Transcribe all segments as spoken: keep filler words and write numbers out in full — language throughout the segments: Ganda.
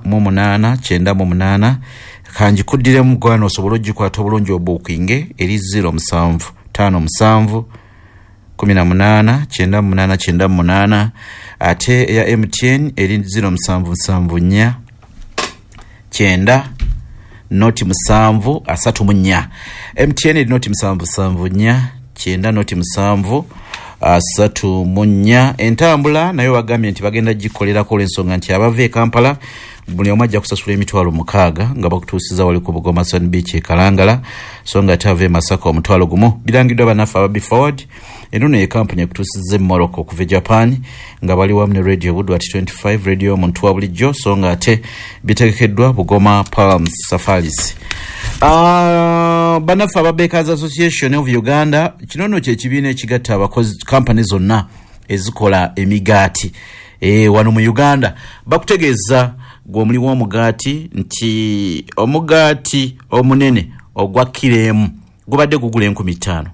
Mu munaana kyenda mu munaana. Kanjikuddiremu gwana osobole ogikwata obulungi obuukinge. Eri zero musanvu ttaano musanvu kumi na munaana kyenda mu munaana kyenda mu munaana. Ate eya M T N eri zero musanvu musanvu nnya kyenda noti musanvu asatu mu nnya. M T N eri noti musanvu musanvu nnya kyenda noti musanvu asatu mu nnya. Entambula nayo bagambye nti bagenda gikolerako olw'ensonga nti abava e Kampala buli omu ajja kusasula emitwalo mukaaga nga bakutuusiza wali ku Bugoma Sun Beach e Kalangala, so nga ate ava e Masaka omutwalo gumu. Birangiddwa bannaffe aba Forward. Eno ye kampuni ekutuusiza e Morocco okuva e Japan nga bali wamu ne Radio Buddu at twenty-five, radio omuntu wa bulijjo, so nga ate bitegekeddwa Bugoma Palms Safaris. Uh, bannaffe aba Bakers Association of Uganda, kino nno kyekibiina ekigatta abakozi kampani zonna ezikola emigaati e, wano mu Uganda, bakutegeeza gwe omuli w'omugaati nti omugaati omunene ogwa kiro emu gubadde gugula enkumi ttaano.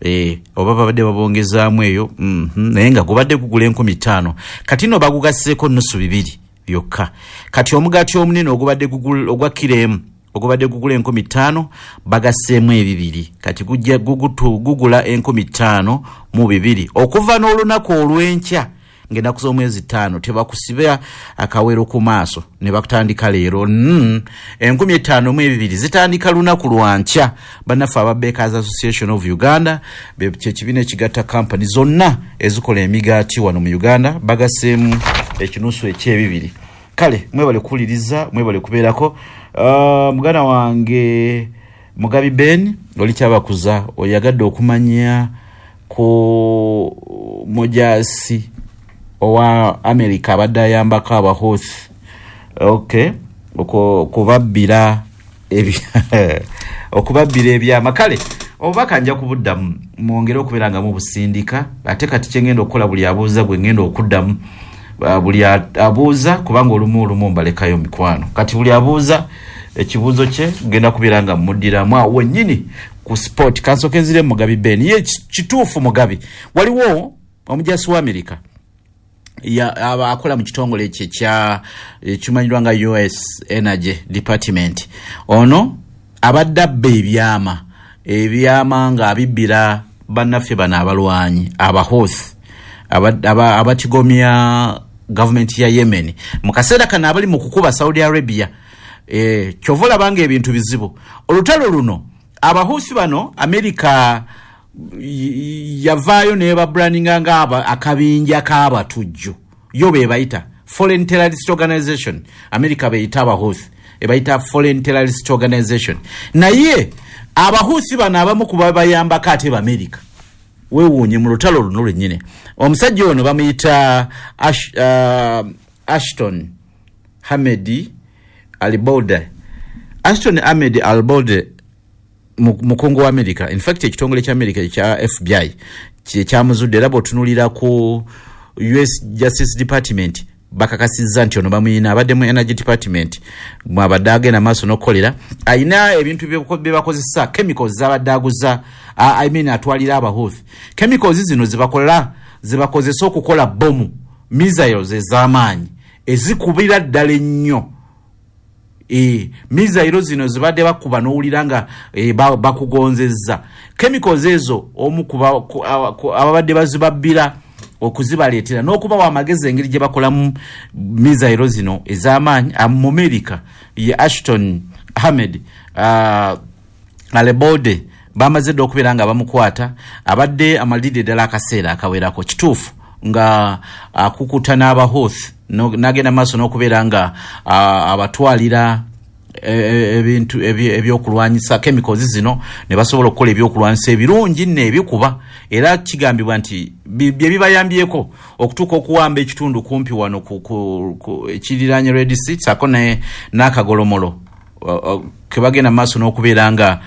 E, oba babadde babongezaamu eyo mm -hmm, naye nga gubadde gugula enkumi ttaano, kati nno bagugasseeko nusu bibiri byokka. Kati omugaati omunene ogubadde ogwa kiro emu ogubadde gugula enkumi ttaano bagasseemu ebibiri, kati gujja gugula enkumi ttaano mu bibiri okuva n'olunaku olw'enkya ng'ennaku z'omwezi ttaano. Tebakusiba akawero ku maaso ne bakutandika leero. mm. enkumi ttaano mu ebibiri zitandika lunaku lwankya. Bannaffe aba Bakers Association of Uganda, kyekibiina ekigatta kampani zonna ezikola emigaati wano mu Uganda, bagasseemu ekinusu ekyebibiri. Kale mwebale kuwuliriza, mwebale kubeerako. uh, muganda wange Mugabi Ben oli kyabakuza oyagadde okumanya ku mujasi owa America abadde ayambako Abahuthi, okay, okubabbira okubabbira ebyama. Kale obubaka nja kubuddamu, mwongere okubeera nga mubusindika. Ate kati kyengenda okukola, buli abuuza gwe ngenda okuddamu, buli abuuza, kubanga olumu olumu mbalekayo mikwano. Kati buli abuuza ekibuuzo kye genda kubeera nga muddiramu awo wennyini ku spot. Kansooke nzire Mugabi Ben. Ye kituufu Mugabi, waliwo omujasi wa America ya akola mu kitongole ekyo ekya ekimanyirwa nga U S Energy Department. Ono abadde abba ebyama ebyama ng'abibbira bannaffe bano abalwanyi Abahuthi abatigomya gavumenti ya Yemen mu kaseera kano abali mu kukuba Saudi Arabia. e, kyova olaba nga ebintu bizibu. Olutalo luno Abahusi bano Amerika yavaayo nebabrandinga nga akabinja k'abatujju. Yo bebayita foreign terrorist organization. Amerika beyita Abahusi, ebayita foreign terrorist organization. Naye Abahusi bano abamu kuba bayambako ate Bamerika. Weewuunye, mu lutalo luno lwennyini omusajja ono bamuyita Ash, uh, Ashton Hamed Alibode. Ashton Ahmed Alibode mukungu wa America. In fact, ekitongole kya America ekya F B I kyamuzudde, era bw'otunuulira ku U S Justice Department bakakasizza nti ono bamuyina, abadde mu Energy Department mwabadde agenda maaso n'okukolera. Ayina ebintu bye bakozesa, chemicals zabadde aguza, I mean atwalira Abahuthi. Chemicals zino zibakola zibakozesa okukola bomu, missiles ez'amaanyi ezikubira ddala ennyo. E, missile zino zibadde bakuba n'owulira nga e, bakugonzezza. Chemicals ezo omu ababadde bazibabbira okuzibaleetera n'okubawa amagezi engeri gye bakolamu missile zino ez'amaanyi mu America ye Ashton Ahmed uh, Alebode. Bamaze dda okubeera nga bamukwata, abadde amalidde ddala akaseera akawerako. Kituufu nga akukuta n'Abahuthi n'agenda maaso n'okubeera nga abatwalira ebintu ebyokulwanyisa, chemicals zino, ne basobola okukola ebyokulwanyisa ebirungi nno ebikuba. Era kigambibwa nti bye bibayambyeko okutuuka okuwamba ekitundu kumpi wano ekiriranye Red Sea saako n'akagolomolo kebagenda maaso n'okubeera nga